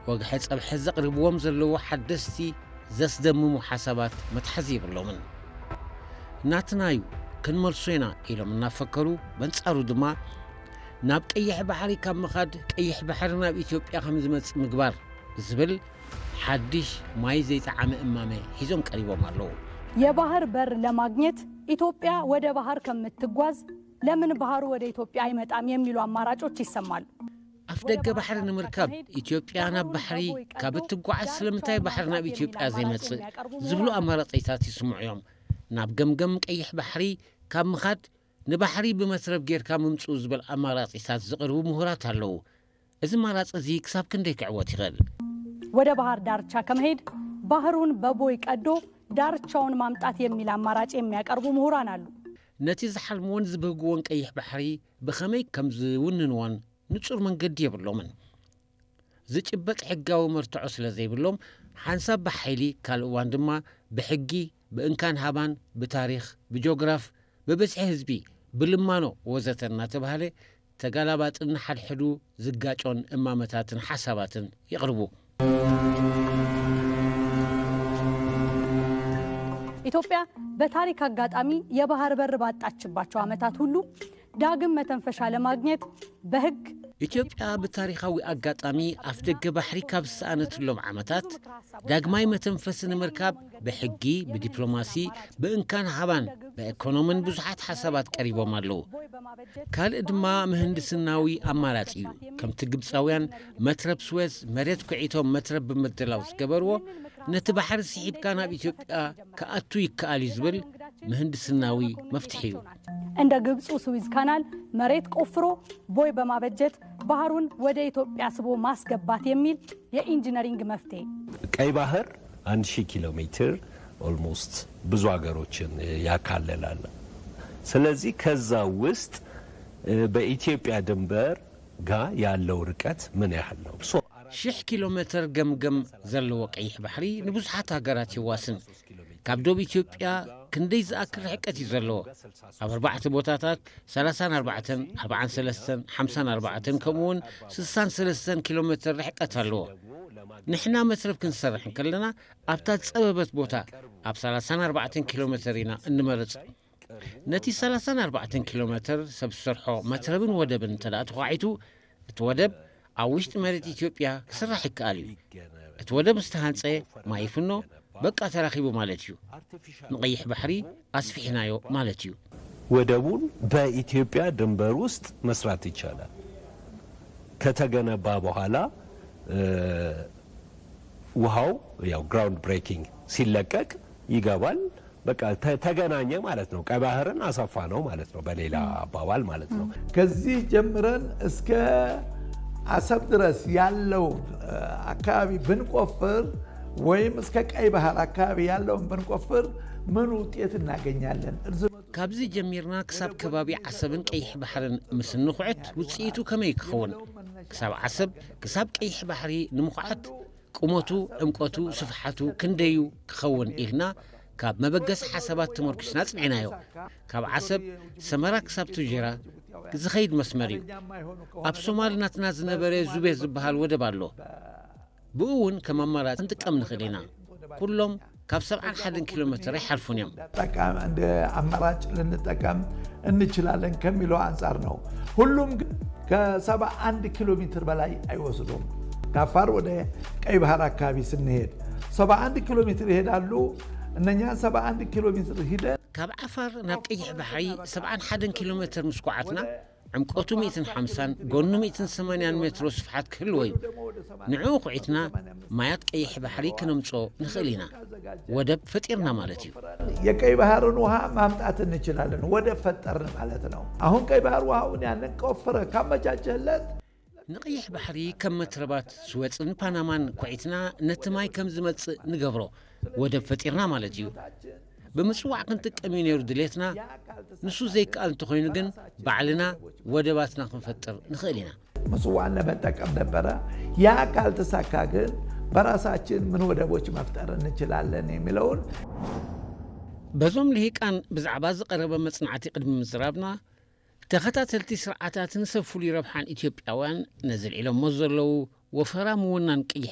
ወግሐ ጸብሐ ዘቕርብዎም ዘለዉ ሓደስቲ ዘስደምሙ ሓሳባት መትሓዚ የብሎምን። ናትና እዩ፣ ክንመልሶ ኢና ኢሎም እናፈከሩ፣ በንጻሩ ድማ ናብ ቀይሕ ባሕሪ ካብ ምኻድ ቀይሕ ባሕሪ ናብ ኢትዮጵያ ከም ዝመጽእ ምግባር ዝብል ሓድሽ ማይ ዘይጠዓመ እማመ ሒዞም ቀሪቦም ኣለዉ። የባህር በር ለማግኘት ኢትዮጵያ ወደ ባህር ከምትጓዝ ለምን ባህሩ ወደ ኢትዮጵያ አይመጣም የሚሉ አማራጮች ይሰማሉ። ኣፍ ደገ ባሕሪ ንምርካብ ኢትዮጵያ ናብ ባሕሪ ካብ እትጓዓዝ ስለምንታይ ባሕሪ ናብ ኢትዮጵያ ዘይመጽእ ዝብሉ ኣማራጺታት ይስምዑ እዮም። ናብ ገምገም ቀይሕ ባሕሪ ካብ ምኻድ ንባሕሪ ብመትረብ ጌርካ ምምጽኡ ዝበል ኣማራጺታት ዝቕርቡ ምሁራት ኣለዉ። እዚ ኣማራጺ እዚ ክሳብ ክንደይ ክዕወት ይኽእል? ወደ ባህር ዳርቻ ከመሄድ ባህሩን በቦይ ቀዶ ዳርቻውን ማምጣት የሚል አማራጭ የሚያቀርቡ ምሁራን አሉ። ነቲ ዝሓልምዎን ዝበህግዎን ቀይሕ ባሕሪ ብኸመይ ከም ዝውንንዎን ንጹር መንገዲ የብሎምን። ዝጭበጥ ሕጋዊ መርትዖ ስለ ዘይብሎም ሓንሳብ ብሓይሊ ካልእ እዋን ድማ ብሕጊ ብእንካን ሃባን ብታሪኽ ብጆግራፍ ብብዝሒ ህዝቢ ብልማኖ ወዘተ እናተባህለ ተጋላባጥን ሓድሕዱ ዝጋጮን እማመታትን ሓሳባትን ይቕርቡ። ኢትዮጵያ በታሪክ አጋጣሚ የባህር በር ባጣችባቸው ዓመታት ሁሉ ዳግም መተንፈሻ ለማግኘት በህግ ኢትዮጵያ ብታሪኻዊ ኣጋጣሚ ኣፍ ደገ ባሕሪ ካብ ዝሰኣነትሎም ዓመታት ዳግማይ መተንፈሲ ንምርካብ ብሕጊ ብዲፕሎማሲ ብእንካን ሃባን ብኢኮኖምን ብዙሓት ሓሳባት ቀሪቦም ኣለዉ። ካልእ ድማ ምህንድስናዊ ኣማራጺ እዩ። ከምቲ ግብፃውያን መትረብ ስዌዝ መሬት ኩዒቶም መትረብ ብምድላው ዝገበርዎ ነቲ ባሕሪ ስሒብካ ናብ ኢትዮጵያ ክኣቱ ይከኣል እዩ ዝብል ምህንድስናዊ መፍትሒ እዩ። እንደ ግብፁ ስዊዝ ካናል መሬት ቆፍሮ ቦይ በማበጀት ባህሩን ወደ ኢትዮጵያ ስቦ ማስገባት የሚል የኢንጂነሪንግ መፍትሄ። ቀይ ባህር አንድ ሺህ ኪሎ ሜትር almost ብዙ ሀገሮችን ያካልላል። ስለዚህ ከዛ ውስጥ በኢትዮጵያ ድንበር ጋር ያለው ርቀት ምን ያህል ነው? ሽሕ ኪሎ ሜትር ገምገም ዘለዎ ቀይሕ ባሕሪ ንብዙሓት ሃገራት ይዋስን። ካብ ዶብ ኢትዮጵያ ክንደይ ዝኣክል ርሕቀት እዩ ዘለዎ? ኣብ ኣርባዕተ ቦታታት ሰላሳን ኣርባዕተን፣ ኣርባዓን ሰለስተን፣ ሓምሳን ኣርባዕተን ከምኡውን ስሳን ሰለስተን ኪሎ ሜትር ርሕቀት ኣለዎ። ንሕና መትረብ ክንሰርሕ እንከለና ኣብታ ዝጸበበት ቦታ ኣብ ሰላሳን ኣርባዕተን ኪሎ ሜትር ኢና እንመርጽ። ነቲ ሰላሳን ኣርባዕተን ኪሎ ሜትር ሰብ ዝሰርሖ መትረብን ወደብን እንተ ደኣ ተዃዒቱ እቲ ወደብ ኣብ ውሽጢ መሬት ኢትዮጵያ ክስራሕ ይከኣል እዩ። እቲ ወደብ ምስ ተሃንጸ ማይ ይፍኖ በቃ ተራኺቡ ማለት እዩ። ንቐይሕ ባሕሪ ኣስፊሕናዮ ማለት እዩ። ወደቡን በኢትዮጵያ ድንበር ውስጥ መስራት ይቻላል። ከተገነባ በኋላ ውሃው ያው ground breaking ሲለቀቅ ይገባል። በቃ ተገናኘ ማለት ነው። ቀይ ባህርን አሰፋ ነው ማለት ነው በሌላ አባባል ማለት ነው። ከዚህ ጀምረን እስከ አሰብ ድረስ ያለው አካባቢ ብንቆፍር ወይም እስከ ቀይ ባህር አካባቢ ያለውን ብንቆፍር ምን ውጤት እናገኛለን? ካብዚ ጀሚርና ክሳብ ከባቢ ዓሰብን ቀይሕ ባሕርን ምስ እንኹዕት ውፅኢቱ ከመይ ክኸውን? ክሳብ ዓሰብ ክሳብ ቀይሕ ባሕሪ ንምኹዓት ቁመቱ፣ ዕምቆቱ፣ ስፍሓቱ ክንደዩ ክኸውን ኢልና ካብ መበገሲ ሓሳባት ተመርኩስና ጽኒዕናዮ። ካብ ዓሰብ ሰመራ ክሳብ ቱጀራ ዝኸይድ መስመር እዩ። ኣብ ሶማል ናትና ዝነበረ ዙቤ ዝበሃል ወደብ ኣሎ። ብኡ እውን ከም ኣማራጺ ክንጥቀም ንኽእል ኢና። ኩሎም ካብ ሰብዓን ሓደን ኪሎ ሜትር ኣይሓልፉን እዮም። እንደ አማራጭ ልንጠቀም እንችላለን ከሚለው አንጻር ነው። ሁሉም ግን ከሰባ አንድ ኪሎ ሜትር በላይ አይወስዱም። ከአፋር ወደ ቀይ ባህር አካባቢ ስንሄድ ሰባ አንድ ኪሎ ሜትር ይሄዳሉ። እነኛ ሰባ አንድ ኪሎ ሜትር ሂደን ካብ ዓፋር ናብ ቀይሕ ባሕሪ ሰብዓን ሓደን ኪሎ ሜትር ምስ ኳዓትና ዕምቆቱ ሚእትን ሓምሳን ጎኑ ሚእትን ሰማንያን ሜትሮ ስፍሓት ክህልዎ እዩ። ንዕኡ ኩዒትና ማያት ቀይሕ ባሕሪ ክነምጽኦ ንኽእል ኢና። ወደብ ፈጢርና ማለት እዩ። የቀይ ባህርን ውሃ ማምጣት እንችላለን። ወደብ ፈጠርን ማለት ነው። አሁን ቀይ ባህር ውሃውን ያንን ቆፍረ ካመቻቸለት ንቐይሕ ባሕሪ ከም መትረባት ስዌጽን ፓናማን ኩዒትና ነቲ ማይ ከም ዝመጽእ ንገብሮ ወደብ ፈጢርና ማለት እዩ። ብምጽዋዕ ክንጥቀም እዩ ነይሩ ድሌትና። ንሱ ዘይከኣል እንተኾይኑ ግን ባዕልና ወደባትና ክንፈጥር ንኽእል ኢና። ምጽዋዕን ለመጠቀም ነበረ። ያ ካልተሳካ ግን በራሳችን ምን ወደቦች መፍጠር እንችላለን የሚለውን በዞም ልሂቃን ብዛዕባ ዝቐረበ መጽናዕቲ ቅድሚ ምዝራብና ተኸታተልቲ ስርዓታትን ሰብ ፍሉይ ረብሓን ኢትዮጵያውያን ነዚ ልዒሎሞ ዘለዉ ወፈራ ምውናን ቀይሕ